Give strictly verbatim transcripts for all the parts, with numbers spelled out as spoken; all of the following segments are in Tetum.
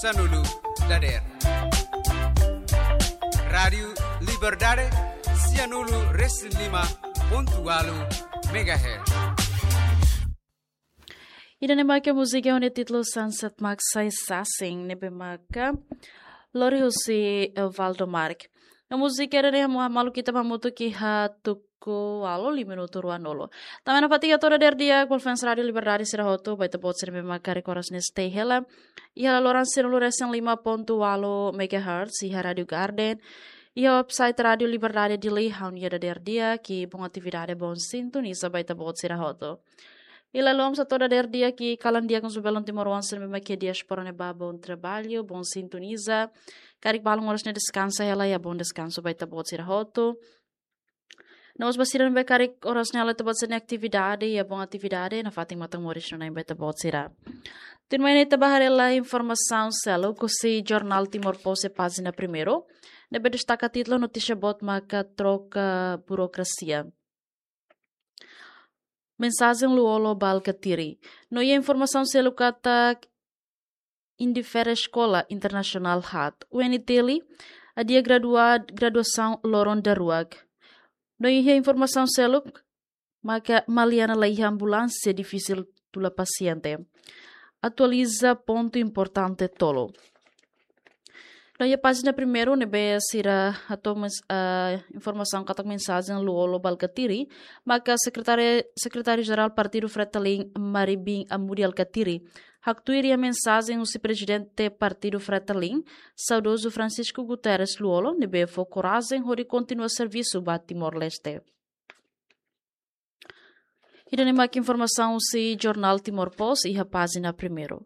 sanulu dadeer. Rádiu Liberdade, sianulu resin lima pontu ualu megahertz. Ida-ne'e maka múzika ho nia títulu Sunset Max Sai Sasing ne'ebé maka lori husi, eh, Valdo Mark. No múzika ida-ne'e ha'u halo maluk ita hamutuk iha tuku ualu lima minutu ruanulu. Tanba ne'e fatin hato'o dadeer di'ak ba fans Rádiu Liberdade sira hotu, ba ita-boot sira ne'ebé maka karik oras ne'e stay hela iha laloran sianulu resin lima pontu ualu megahertz iha Rádiu Garden, iha website Rádiu Liberdade Dili, ha'u-nia dadeer di'ak i bom atividade, bom sintoniza ba ita-boot sira hotu. I lalais hato'o dadeer di'ak i kalan di'ak husu ba belun timoroan sira ne'ebé maka iha diáspora ne'ebá, bom trabalho, bom sintoniza. Karik balun oras ne'e deskansa hela, iha bom deskansu ba ita-boot sira hotu. No mós ba sira ne'ebé karik oras ne'e halo ita-boot sira-nia atividade, iha bom atividade, nafatin matan moris no nain ba ita-boot sira. Tuirmai ne'e ita bá haree hela informasaun seluk husi jornál Timor Post iha pájina primeiru, ne'ebé destaka títulu notísia boot maka troka burokrasia. Mensajen Lú-Olo ba Alkatiri. No iha informasaun seluk katak Indifere Eskola Internasionál haat. U N T L adia gradua-, graduasaun loron daruak. No iha informasaun seluk maka Maliana laiha ambulánsia, difisil tula pasiente. Atualiza pontu importante tolu. No iha pájina primeiru ne'ebé sira hato'o mens-, ah, informasaun katak mensajen Lú-Olo ba Alkatiri, maka sekretária, sekretáriu-jerál Partidu Fretilin, Mari Bin Amudi Alkatiri, haktuir iha mensajen husi prezidente Partidu Fretilin, saudozu Francisco Guterres Lú-Olo, ne'ebé fó korajen hodi kontinua servisu ba Timor-Leste. Ida-ne'e maka informasaun husi jornál Timor Post iha pájina primeiru.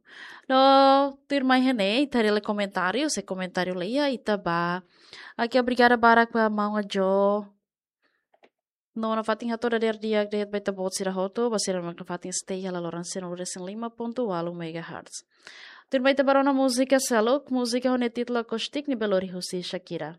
No tuirmai iha ne'e, ita haree hela komentáriu, se komentáriu laiha, ita bá. Oke, obrigada barak ba maun Ajo. No nafatin hato'o dadeer di'ak de'it ba ita-boot sira hotu, ba sira ne'ebé nafatin stay iha laloran sianulu resin lima pontu ualu megahertz. Tuirmai ita bá rona múzika seluk, múzika ho nia títulu Akustik ne'ebé lori husi Shakira.